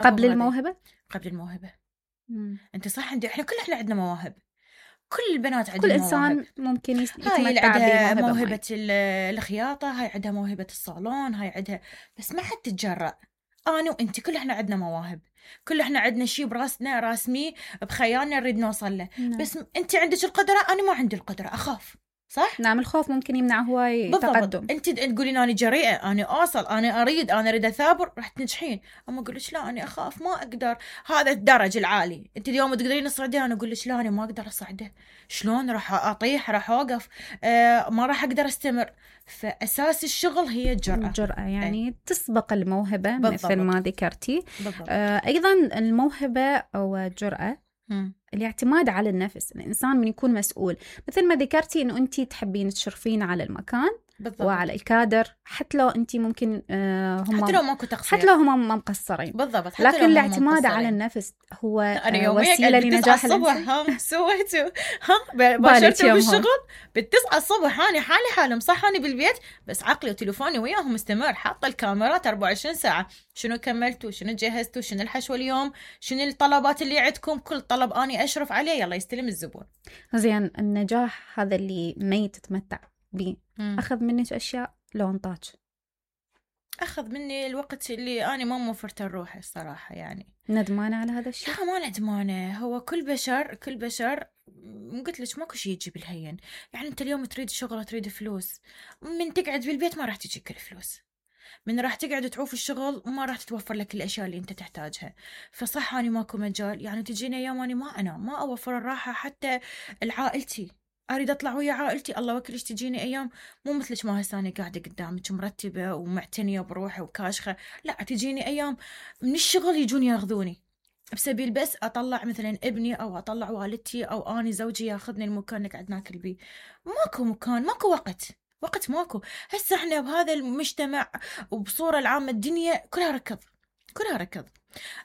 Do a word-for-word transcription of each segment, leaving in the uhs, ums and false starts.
قبل الموهبة؟ قبل الموهبة. مم. انت صح، عندي احنا كل احنا عندنا مواهب، كل البنات عندهم كل مواهب. إنسان ممكن يتمتع هاي اللي عندها بموهبة موهبة الخياطة، هاي عندها موهبة الصالون، هاي عندها، بس ما حد تتجرأ. أنا وأنت كل إحنا عندنا مواهب، كل إحنا عندنا شيء براسنا راسمي بخيالنا نريد نوصل له. نعم. بس أنت عندك القدرة، أنا ما عندي القدرة، أخاف. صح؟ نعم، الخوف ممكن يمنع هواي تقدم. انت تقولين انا جريئه، انا اوصل، انا اريد انا اريد اثابر، راح تنجحين. اما اقول لك لا انا اخاف، ما اقدر. هذا الدرج العالي انت اليوم تقدرين تصعديه، انا اقول لك لا انا ما اقدر اصعده. شلون راح اطيح، راح اوقف، آه ما راح اقدر استمر. فاساس الشغل هي الجرأه. الجرأة يعني ايه؟ تسبق الموهبه. بالضبط. مثل ما ذكرتي. آه ايضا الموهبه او الجرأة م. الاعتماد على النفس. الإنسان من يكون مسؤول، مثل ما ذكرتي إنه أنتي تحبين تشرفين على المكان. بالضبط. وعلى الكادر، حتى لو أنتي ممكن آه هم حتى لو ماكو تقصير، حتى لو هم ما مقصرين. بالضبط. حتى لكن الاعتماد على النفس هو آه وسيلة لنجاح الصبح. ها سويتوا ها باشرتوا بالشغل بالتسعة الصبح، أنا حالي حالي مصحاني بالبيت، بس عقلي وتليفوني وياهم مستمر، حاطة الكاميرات أربعة وعشرين ساعة. شنو كملتوا، شنو جهزتوا، شنو الحشوة اليوم، شنو الطلبات اللي عندكم، كل طلب أني أشرف عليه، يلا يستلم الزبون. زين، النجاح هذا اللي ما يتتمتع به أخذ منك أشياء لو انطاج؟ أخذ مني الوقت اللي أنا ما موفرت الروح الصراحة. يعني ندمانة على هذا الشيء؟ لا ما ندمانة. هو كل بشر كل بشر قلت لك ماكو شيء يجي بالهين. يعني أنت اليوم تريد شغل، تريد فلوس، من تقعد بالبيت ما راح تجيك الفلوس، من راح تقعد تعوف الشغل ما راح تتوفر لك الأشياء اللي أنت تحتاجها. فصح أنا ماكو مجال. يعني تجينا أيام أنا ما أنا ما أوفر الراحة حتى لعائلتي، أريد أطلع ويا عائلتي، الله وكلش تجيني أيام مو مثلش ما هسه أنا قاعدة قدامك مرتبة ومعتنية بروحي وكاشخة. لا، تجيني أيام من الشغل يجون ياخذوني بسبيل بس أطلع مثلا ابني أو أطلع والدتي أو أنا زوجي ياخذني المكان نقعد ناكل بيه. ماكو مكان، ماكو وقت، وقت ماكو. هسه احنا بهذا المجتمع وبصورة العامة الدنيا كلها ركض، كلها ركض.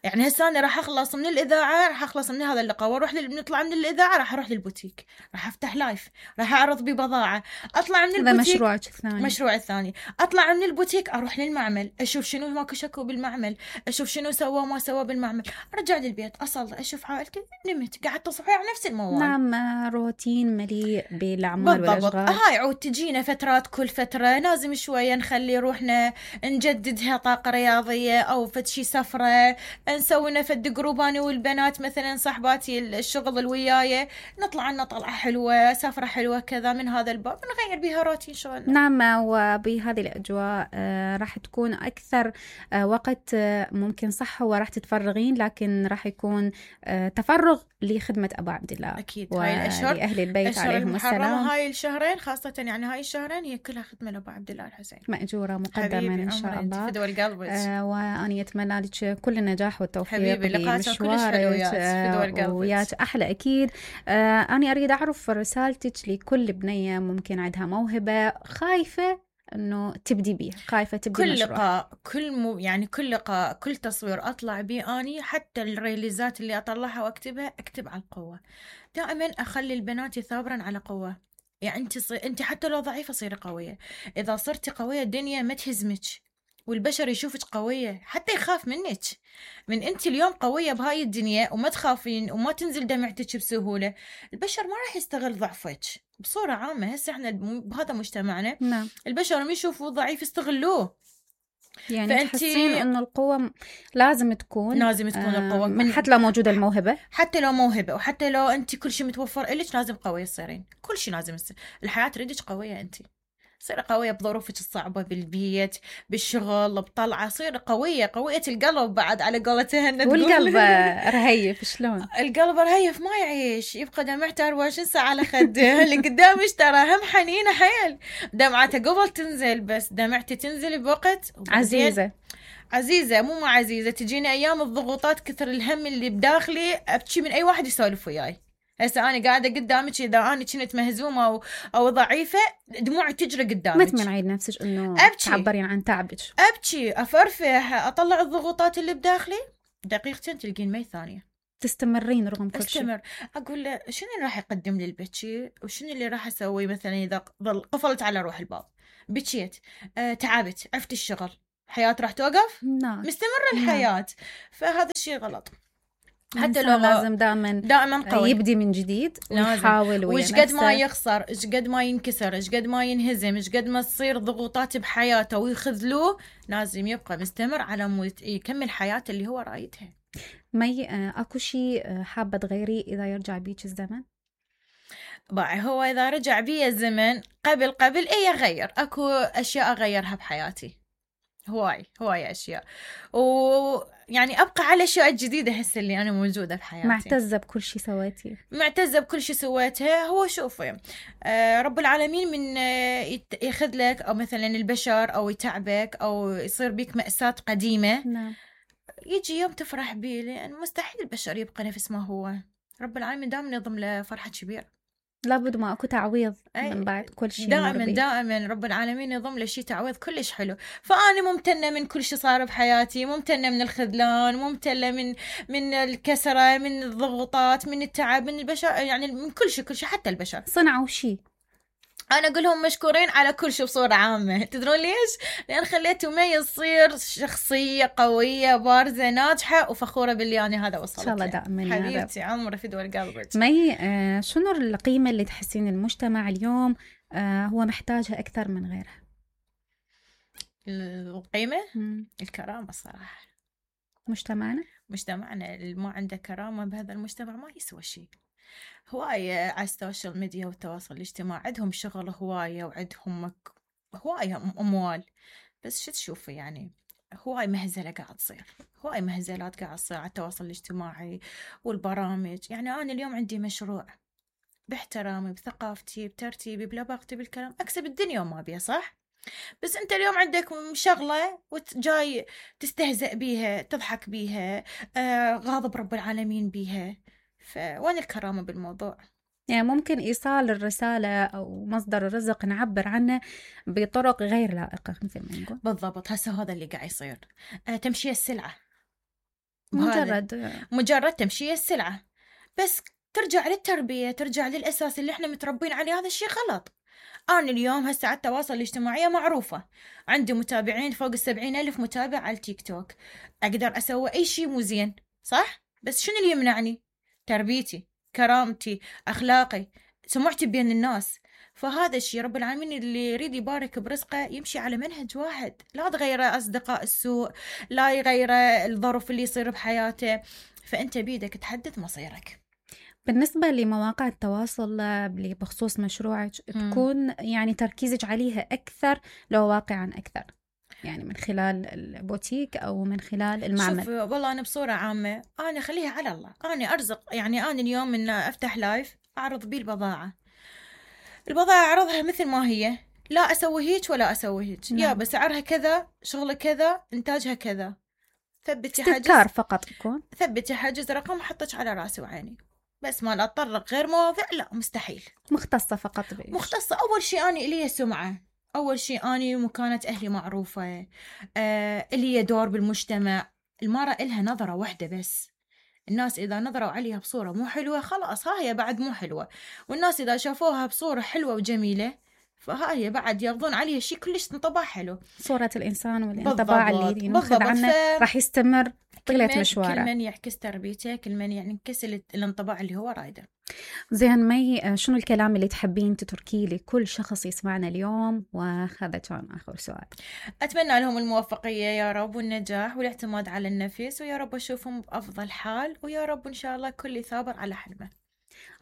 يعني هسه أنا راح أخلص من الإذاعة، راح أخلص من هذا اللقاء وأروح لل... نطلع من الإذاعة راح أروح للبوتيك، راح أفتح لايف، راح أعرض ببضاعة، أطلع من البوتيك. هذا مشروعك الثاني. مشروع الثاني، أطلع من البوتيك أروح للمعمل، أشوف شنو ماكو شكو بالمعمل، أشوف شنو سوى ما سوى بالمعمل، أرجع للبيت أصلي أشوف عائلتي، نمت قاعد تصحي على نفس الموال. نعم، روتين مليء بالأعمال والأشغال. هاي عود تجينا فترات، كل فترة لازم شوية نخلي روحنا نجددها طاقة رياضية أو فد شي سفرة، نسوي نفد جروباني والبنات مثلا صاحباتي الشغل الوياية، نطلع لنا طلعة حلوة، سفرة حلوة كذا، من هذا الباب نغير بها روتين شغلنا. نعم، وبهذه الأجواء آه راح تكون أكثر آه وقت آه ممكن صح هو راح تتفرغين، لكن راح يكون آه تفرغ لخدمة أبا عبد الله. أكيد. هاي الأشهر ولأهل البيت عليهم السلام. هاي الشهرين خاصة، يعني هاي الشهرين هي كلها خدمة لأبا عبد الله الحسين، مأجورة مقدما إن شاء الله. فدوى القلب. آه وأنا أتمنى لك كل النجاح والتوفيق بمشوارك آه وياك أحلى أكيد. آه أنا أريد أعرف رسالتك لكل بنية ممكن عندها موهبة خايفة إنه تبدي بيه، خايفة تبدي كل مشروع. لقاء كل مو يعني كل لقاء كل تصوير أطلع بيه أني، حتى الريليزات اللي أطلعها وأكتبها أكتب على القوة. دائما أخلي البنات ثابرا على قوة. يعني أنت صي... أنت حتى لو ضعيفة صيري قوية. إذا صرتي قوية الدنيا ما تهزمك، والبشر يشوفك قوية حتى يخاف منك. من أنت اليوم قوية بهاي الدنيا وما تخافين وما تنزل دمعتك بسهولة، البشر ما راح يستغل ضعفك بصورة عامة. هسه احنا بهذا مجتمعنا نعم. البشر ما يشوفوا ضعيف يستغلوه. يعني فأنتي... تحسين أنه القوة لازم تكون لازم تكون آه القوة من حتى لو موجودة الموهبة، حتى لو موهبة وحتى لو أنت كل شيء متوفر إلك لازم قوية تصيرين. كل شيء لازم يصير. الحياة تريدك قوية، أنت صير قوية بظروفك الصعبة، بالبيت، بالشغل، بطلعة، صير قوية قوية القلب بعد على قولتها. والقلب رهيف شلون؟ القلب رهيف ما يعيش، يبقى دمعته أربعة وعشرين ساعة على خده. اللي قدامش ترى هم حنينة حيل، دمعته قبل تنزل، بس دمعتي تنزل بوقت عزيزة عزيزة مو ما عزيزة. تجيني أيام الضغوطات كثر الهم اللي بداخلي أبكي من أي واحد يسولف وياي. هسه أنا قاعدة قدامك، إذا أنا كنت مهزومة أو أو ضعيفة دموعي تجري قدامك. ما تمنعين نفسك إنه تعبرين عن تعبك. أبكي، أفرفح، أطلع الضغوطات اللي بداخلي، دقيقتين تلقين مي ثانية. تستمرين رغم كل شيء. استمر. أقول له شنو اللي راح يقدم لي البكي وشنو اللي راح أسوي. مثلا إذا ظل قفلت على روح الباب بكيت، أه تعبت، عفت الشغل، حياة راح توقف؟ نعم. مستمرة الحياة. نعم. فهذا الشيء غلط. حتى لو لازم دائما دائما قوي يبدي من جديد ويحاول ويش قد ما يخسر، ايش قد ما ينكسر، ايش قد ما ينهزم، ايش قد ما تصير ضغوطات بحياته ويخذلوه، لازم يبقى مستمر على مود يكمل حياته اللي هو رايدها. مي اكو شيء حابه تغيري اذا يرجع بيك الزمن؟ باعي هو اذا رجع بي الزمن قبل قبل ايه اغير، اكو اشياء اغيرها بحياتي، هواي هواي اشياء، ويعني ابقى على الاشياء الجديده هسه اللي انا موجوده بحياتي. معتزه بكل شيء سويتيه؟ معتزه بكل شيء سويته. هو شوفي آه رب العالمين من آه ياخذ لك او مثلا البشر او يتعبك او يصير بيك مأساة قديمه. نعم. يجي يوم تفرح بيه، لان مستحيل البشر يبقى نفس ما هو. رب العالمين دائما يضم له فرحه كبيره، لابد ما اكو تعويض من بعد كل شيء. دائما دائما رب العالمين يضم له شيء تعويض كلش حلو. فانا ممتنه من كل شيء صار بحياتي، ممتنه من الخذلان، ممتنه من من الكسره، من الضغوطات، من التعب، من البشر، يعني من كل شيء كل شيء حتى البشر صنعوا شيء. انا اقول لهم مشكورين على كل شيء بصوره عامه. تدرون ليش؟ لان خليته مي يصير شخصيه قويه بارزه ناجحه وفخوره باللي انا هذا وصلت. ان شاء الله دائما حبيبتي عمري في دول قلبك. مي آه شنو القيمه اللي تحسين المجتمع اليوم آه هو محتاجها اكثر من غيرها؟ القيمه مم. الكرامه صراحه. مجتمعنا مجتمعنا اللي ما عنده كرامه بهذا المجتمع ما يسوى شيء. هواية على السوشيال ميديا والتواصل الاجتماعي عندهم شغل هواية وعندهم هواية أموال، بس شو تشوفي يعني هواي مهزلة قاعد تصير، هواي مهزلات قاعد تصير على التواصل الاجتماعي والبرامج. يعني أنا اليوم عندي مشروع باحترامي بثقافتي بترتيبي بلباقتي بالكلام أكسب الدنيا وما بيها، صح؟ بس أنت اليوم عندك شغلة وجاي تستهزأ بيها تضحك بيها آه غاضب رب العالمين بيها، فوين الكرامة بالموضوع؟ يعني ممكن إيصال الرسالة أو مصدر الرزق نعبر عنه بطرق غير لائقة مثل ما نقول. بالضبط. هسه هذا اللي قاعد يصير آه تمشي السلعة، مجرد مجرد تمشي السلعة، بس ترجع للتربية، ترجع للأساس اللي احنا متربين عليه. هذا الشيء غلط. أنا اليوم هسه على التواصل الاجتماعي معروفة، عندي متابعين فوق السبعين ألف متابع على التيك توك، أقدر أسوي أي شيء مو زين، صح؟ بس شنو اللي يمنعني؟ تربيتي، كرامتي، أخلاقي، سمعتي بين الناس. فهذا الشيء رب العالمين اللي يريد يبارك برزقه يمشي على منهج واحد، لا تغير أصدقاء السوء، لا يغير الظرف اللي يصير بحياته. فأنت بيدك تحدد مصيرك. بالنسبة لمواقع التواصل بخصوص مشروعك تكون يعني تركيزك عليها أكثر لو واقعا أكثر، يعني من خلال البوتيك أو من خلال المعمل؟ شوف والله أنا بصورة عامة أنا خليها على الله، أنا أرزق. يعني أنا اليوم من أفتح لايف أعرض بيه البضاعة، البضاعة أعرضها مثل ما هي، لا أسوي هيك ولا أسوي هيك، يا بسعرها كذا، شغلة كذا، إنتاجها كذا. ثبتي حجز استذكار فقط يكون، ثبتي حجز رقم حطك على راسي وعيني، بس ما أتطرق غير مواضيع لا مستحيل. مختصة فقط بإيش؟ مختصة. أول شيء أنا إلي سمعة، أول شيء أنا مكانة أهلي معروفة، آه إلي دور بالمجتمع. المرأة إلها نظرة واحدة بس، الناس إذا نظروا عليها بصورة مو حلوة خلاص ها هي بعد مو حلوة، والناس إذا شافوها بصورة حلوة وجميلة فها هي بعد ياخذون عليها شيء كلش انطباع حلو. صورة الإنسان والانطباع اللي ناخذ عنه ف... راح يستمر طيلة مشواره. كل من يعكس تربيته، كل من يعكس الانطباع اللي هو رايده. زين مي، شنو الكلام اللي تحبين تتركيه لكل شخص يسمعنا اليوم؟ وهذا كان آخر سؤال. أتمنى لهم الموفقية يا رب والنجاح والاعتماد على النفس، ويا رب أشوفهم بأفضل حال، ويا رب إن شاء الله كل ثابر على حلمه.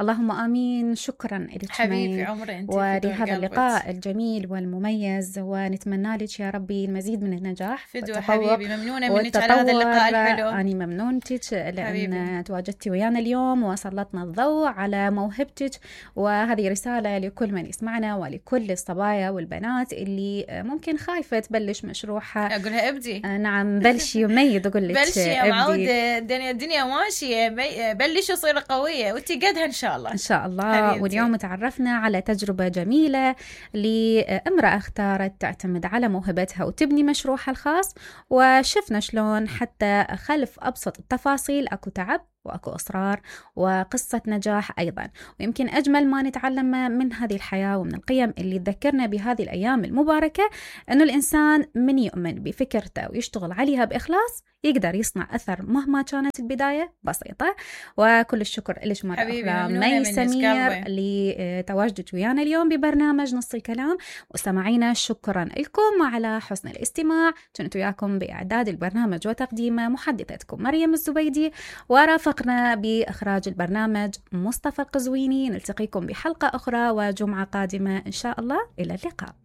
اللهم آمين. شكرا لك حبيبي عمري أنت ولهذا اللقاء الجميل والمميز، ونتمنى لك يا ربي المزيد من النجاح فدوى حبيبي. ممنونة منك على هذا اللقاء الحلو. أنا ممنونتك لأن تواجدتي ويانا اليوم وسلطنا الضوء على موهبتك، وهذه رسالة لكل من يسمعنا ولكل الصبايا والبنات اللي ممكن خايفة تبلش مشروعها. أقولها ابدي. نعم بلشي وميد، أقول لك بلشي يا معودة، الدنيا الدنيا ماشية، بلشي وصير قوية وانتي قدها إن شاء الله. إن شاء الله حبيبتي. واليوم تعرفنا على تجربة جميلة لامرأة اختارت تعتمد على موهبتها وتبني مشروعها الخاص، وشفنا شلون حتى خلف أبسط التفاصيل أكو تعب وأكو إصرار وقصة نجاح أيضا. ويمكن أجمل ما نتعلم من هذه الحياة ومن القيم اللي تذكرنا بهذه الأيام المباركة أنه الإنسان من يؤمن بفكرته ويشتغل عليها بإخلاص يقدر يصنع أثر مهما كانت البداية بسيطة. وكل الشكر لك مرة أخرى مي سمير لتواجدك ويانا اليوم ببرنامج نص الكلام. وسمعينا شكرا لكم على حسن الاستماع. كنت وياكم بإعداد البرنامج وتقديمه محدثتكم مريم الزبيدي، ورافقنا بإخراج البرنامج مصطفى القزويني. نلتقيكم بحلقة أخرى وجمعة قادمة إن شاء الله. إلى اللقاء.